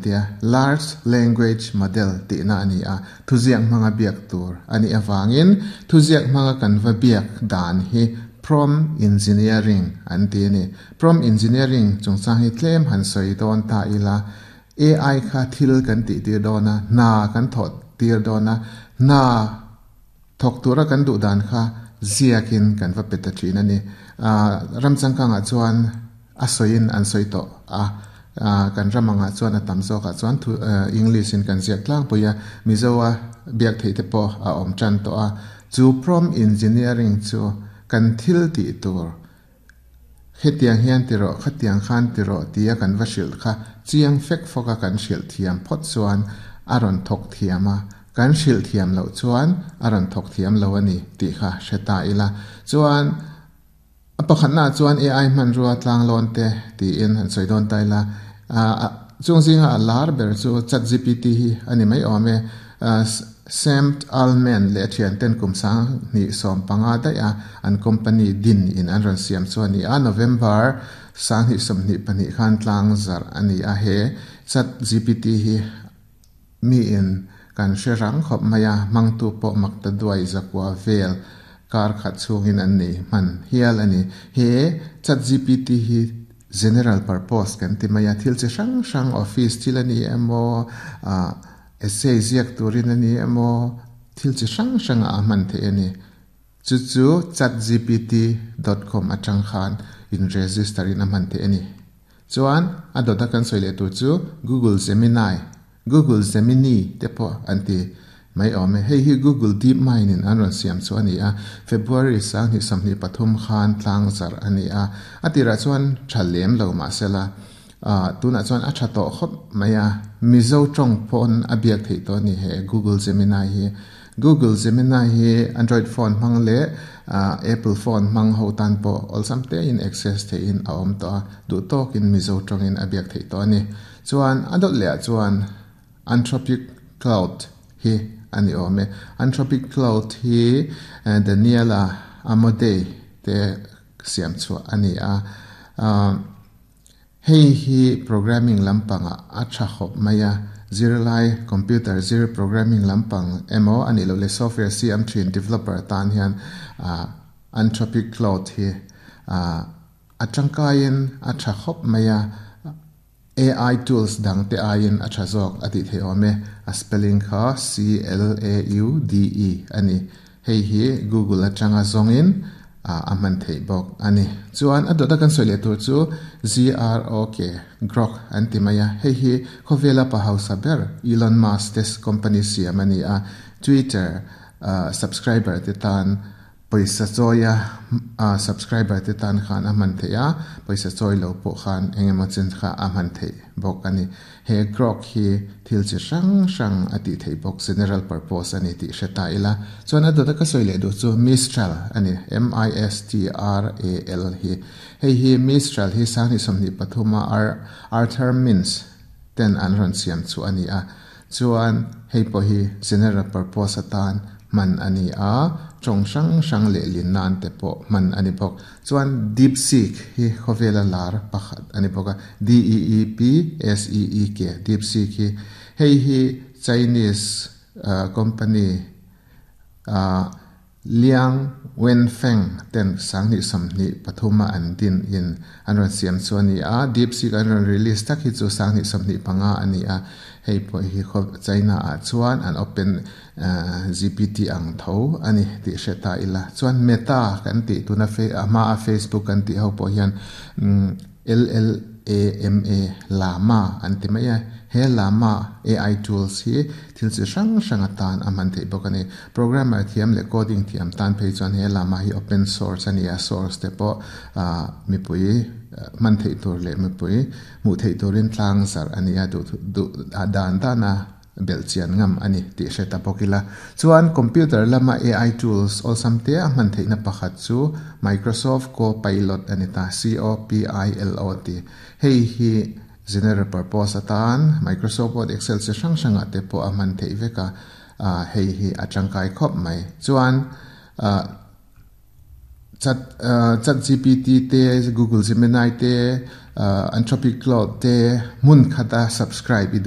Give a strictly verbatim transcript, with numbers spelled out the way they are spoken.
tia, large language model tihna a ni a. Thuziak hmanga biak tur a nih avangin thuziak hmanga kan va biak dan hi prompt engineering an ti a ni. Prompt engineering chungchang hi tlem han sawi dawn ta ila, A I kha thil kan tih tir dawn a, hna kan thawh tir dawn a, hna thawk tura kan duh dan kha ziakin kan va pe ta thin a ni. Ram changkangah chuan a sawiin an sawi tawh a, kan ram angah chuan a tam zawkah chuan thu English in kan ziak tlangpui a, Mizoa biak theih te pawh a awm tan tawh a. Chu prompt engineering chu kan thil tih tur hetiang hian ti rawh, khatiang khan ti rawh tia kan va hrilh kha chiang fek fawka kan hrilh thiam phawt chuan a rawn thawk thiam a, kan hrilh thiam loh chuan a rawn thawk thiam lo a ni tih kha hre ta ila. Chuan a pakhatna chuan A I hmanrua tlanglawn te tiin han sawi dawn ta ila, chung zinga a lar ber chu Chat G P T hi a ni mai awm e. Sam Altman leh thian ten kum sang hnih sawm panga daih a an company din in an rawn siam chu a ni a. November sang hnih sawm hnih pahnih khan tlang zarh a ni a. He Chat G P T hi mi in kan hre rang khawp mai a, hmangtu pawh makta duai zakua vel kar khat chungin an nei hman hial a ni. He Chat G P T hi general purpose kan ti mai a, thil chi hrang hrang, office thil a ni emaw, essay ziak turin a ni emaw, thil chi hrang hrang a hman theih a ni. Chu chu chatgpt dot com atang khan in register in a hman theih a ni. Chuan a dawta kan sawi leh tur chu Google Gemini, Google Gemini te pawh an ti mai awm e. Hei hi Google DeepMind in an rawn siam chu a ni a. February sang hnih sawmhnih pathum khan tlang zarh a ni a. A tirah chuan tha lem lo mahsela tunah chuan a tha tawh khawp mai a. Mizo tawng pawn a biak theih tawh a ni he Google Gemini hi. Google Gemini hi Android phone hmang leh Apple phone hmang ho tan pawh awlsam te in access theihin a awm tawh a, duh tawkin Mizo tawngin a biak theih tawh a ni. Chuan a dawt lehah chuan Anthropic Claude hi a ni awm e. Anthropic Claude hi Daniela Amodei te siam chhuah a ni a. Hei hi programming lampanga a tha khawp mai a. Zirlai computer zir, programming lampang emaw ani lo le software siam thin developer tan hian Anthropic Claude hi a tangkain a tha khawp mai a. A I tools dang te aiin a tha zawk a tih theih awm e. A spelling kha C L A U D E ani. Hei hi Google atanga zawngin a hman theih bawk ani. Chuan a dawta kan sawi leh tur chu G R O K, Grok an ti mai a. Hei hi khawvela pa hausa ber Elon Musk te company siam ani a. Twitter subscriber te tan pawisa chawia subscriber te tan khan a hman theih a, pawisa chawi lo pawh khan engemaw chen kha a hman theih bawk ani. He Grok hi thil chi hrang hrang a tih theih bawk, general purpose ani tih hre ta ila. Chuan a dawta ka sawi leh duh chu Mistral ani, M I S T R A L hi. Hei hi Mistral hi sang hnih sawmhnih pathuma Arthur Mintz ten an rawn siam chu ani a. Chuan hei pawh hi general purpose atan hman ani a, tawng hrang hrang leh lin nan te pawh hman ani bawk. Chuan DeepSeek hi khawvela lar pakhat ani bawk a, D E E P S E E K, DeepSeek hi. Hei hi Chinese company Liang Wenfeng ten sang hnih sawmhnih pathuma an din in an rawn siam chu ani a. DeepSeek an rawn release tak hi chu sang hnih sawmhnih panga ani a. Hei pawh hi China ah chuan an open G P T ang tho ani tih hre ta ila. Chuan Meta kan tih tuna fe a hma a Facebook kan tih ho pawh hian L L A M A, Llama an ti mai a. He Llama A I tools hi thil chi hrang hrang atan a hman theih bawk ani. Programmer thiam leh coding thiam tan phei chuan he Llama hi open source ani a, source te pawh mipui hman theih tur leh mipui hmuh theih turin tlang zarh ani a, duh duh dan dana bel chian ngam ani tih hre ta bawk ila. Chuan computer lama A I tools awlsam te a hman theihna pakhat chu Microsoft Copilot ani ta, C O P I L O T. Hei hi general purpose atan Microsoft Word, Excel chi hrang hranga te pawh a hman theih vek a. Hei hi a tangkai khawp mai. Chuan chat chat G P T te, Google Gemini te, Anthropic Claude te mun khata subscribe i duh.